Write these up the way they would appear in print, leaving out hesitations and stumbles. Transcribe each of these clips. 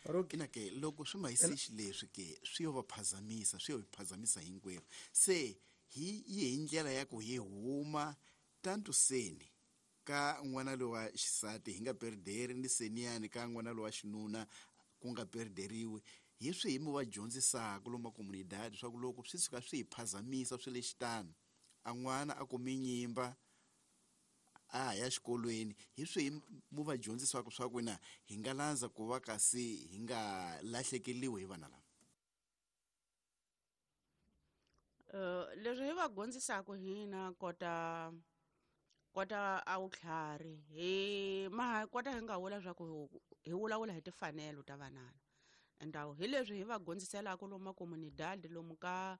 Ina ke loko swi ma yisi xileswi ke swi yo va phazamisa, swi yo hi phazamisa hinkwerhu. Se hi yi hi ndlela ya ku hi huma tantu seni ka n'wana lowa xisati hi nga perderi ni seniyani ka n'wana lowa xinuna ku nga perderiwi. Hi swihi mi va dyondzisaka lomu makomunidadi swa ku loko swi tshuka swi hi phazamisa swi le xitano, a n'wana a kumi nyimba a ha ya xikolweni, hi swihi mu va dyondzisaka swa ku na hi nga landza ku va kasi hi nga lahlekeriwi hi vana lava? Leswi hi va dyondzisaka hina kota a vutlhari, hi ma kota hi nga vula swa ku hi vulavula hi timfanelo ta vanana. Ndhawu hi leswi hi va dyondziselaka lomu makomunidadi, lomu ka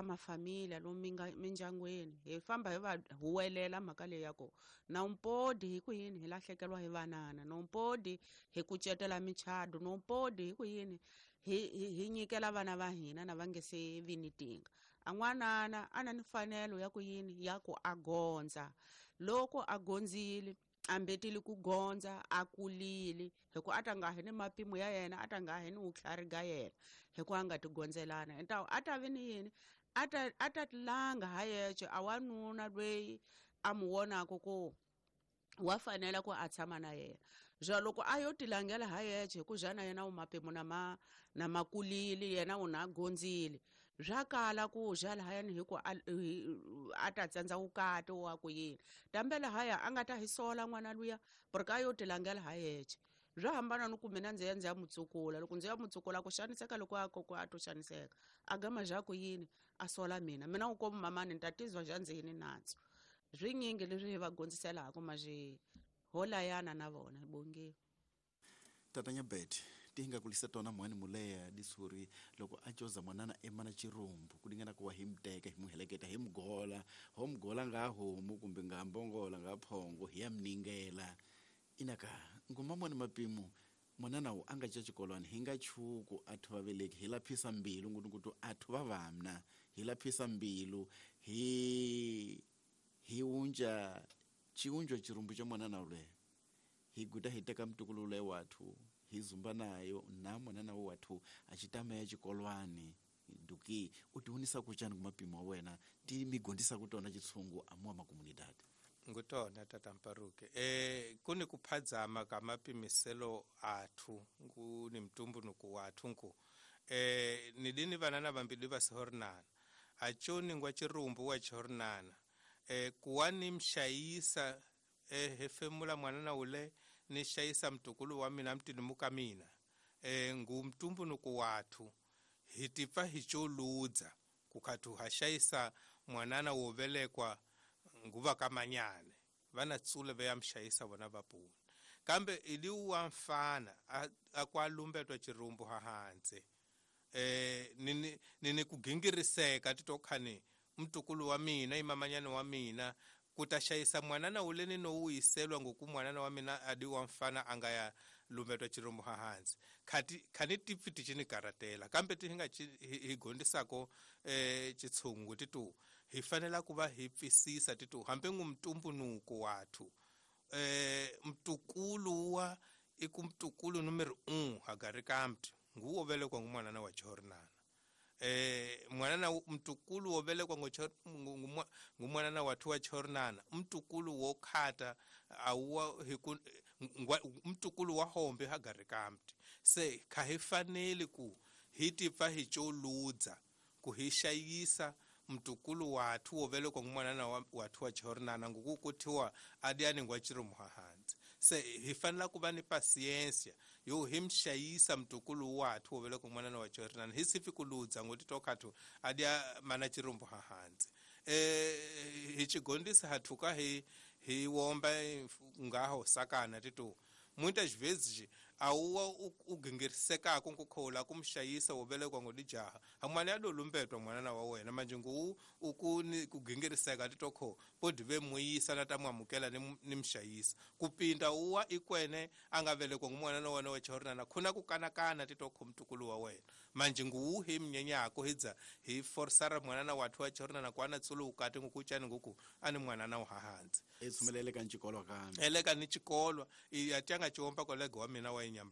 mafamiliya, lomu mindyangwini, hi famba hi va huwelela mhaka leyi ya ku nompodi hi ku yini hi lahlekeriwa hi vanana, nompodi hi kucetela michado, nompodi hi ku yini hi nyikela vana va hina na va nge se vi ni tinga. A n'wanana a na ni mfanelo ya ku yini ya ku a gondza. Loko a gondzile, a mbetile ku gondza, a kulile, hi ku a ta nga hi ni mapimo ya yena, a ta nga hi ni vutlhari ga yena, hi ku a nga ti gondzelana. Entawu a ta vi ni yini? A ta tilanga ha yexe, a wanuna loyi a mu vonaka ku wa fanela ku a tshama na yena. Ja loko a yo tilangela ha yexe, hi ku ja na yena u mapimo na makulile, yena u na gondzile. Swa kala ku ja lahayani hi ku a ta tsandza vukati wa ku yini. Kambe lahaya a nga ta hi sola n'wana luya, porque a yo tilangela ha yexe. Swa hambana ni ku mina ndzi ya ndzi ya mutsukula. Loko ndzi ya mutsukula ku xaniseka loko a ku a to xaniseka, a gama ja ku yini a sola mina. Mina u komu mamani ni ta tizwa ja ndzi yini nandzu. Swinyingi leswi hi va dyondziselaka maje holayana na vona bonge. Tatanya Bet ti nga kulisa tona mwani muleya disuri loko a coza mwanana emana chirumbu kulingana kuwa hi mteka hi muheleketa hi mgola ho mgola nga homu kumbe nga mbongola nga phongo hi ya mningela. Inaka nguma mwani mapimo mwanana u anga cha chikolwani hi nga chuku athu vaveleki hi laphisa mbilu ngutu athu va vamna hi laphisa mbilu hi unja chiunjo chirumbu cha mwanana ule hi guta hi teka mtukulu ule wathu hi zumba nayo na mwanana wathu achitama ya chikolwani duki utihunisa kuchani kumapimo wa wena ti migondisa kutona chitsungu amua makomunidadi. Ngutona tata Mparuke. Kuni kuphadzama ka mapimiselo athu nguni mtumbunuku wathu nku. Nidini vanana vambili va sihornana. Achoni ngwa chirumbu wa chihornana. Kuwani mshayisa hefemula mwanana ule ni shayisa mtukulu wa mina mtinimuka mina. Ngu mtumbunuku wathu hitipa hicholudza kukatu hashayisa mwanana wovelekwa nguva kamanyane vana tsule veya mshayisa vona vapuni. Kambe iliwa mfana akwalumbetwa chirumbu hahanze. Nini kugingiriseka titokhani mtukulu wa mina imamanyane wa mina kutashayisa mwanana ule nino uyiselwa ngoku mwanana wa mina adi wa mfana angaya lumbetwa chirumbu hahanze. Khati khani tipfi tichini karatela kambe tihinga higondisako chitsungu titu hi fanela kuva hi pfisisa titu hambe ngumtumbunuko wathu. Mtukulu wa ikumtukulu numero 1 hagarikamti nguwo vele kwa mwanana wa chornana. Mwanana mtukulu wovele kwa ngumwanana wathu wa chornana mtukulu wokhata awuwa mtukulu wa hombe hagarikamti. Se khahifaneli ku hitipfa hicholudza kuhishayisa mtukulu wathu wovele kwa mwanana wathu wa chornana ngukukuthiwa adiani ngwa chiromuhahanzi. Se hifanela kuva ni pasiensia yo himshayisa mtukulu wathu wovele kwa mwanana wa chornana hisifi kuludza ngoti tokhathu adia mana chirumbu hahanzi. Hichigondisa hathuka hi womba ngaho sakana titu muitas vezes awuwa ugingiriseka nkukhola kumshayisa wovele kwa ngodijaha hamwana yadolumbetwa mwanana wa wena manje ngu ukuni kugingiriseka titokho podive muyisa na tamwamukela ni mshayisa kupinda uwa ikwene angavele kwa mwanana wa wena chornana khuna kukanakana titokho mtukulu wa wena manje ngu hi mnyenyako hidza hi forsara mwanana wathu wa chornana kwana tsulu ukati ngukuchani nguku ani mwanana uhahanzi etsumelele ka nchikolwa kambe eleka ni chikolwa iyatyanga chiomba kolego wa mina wa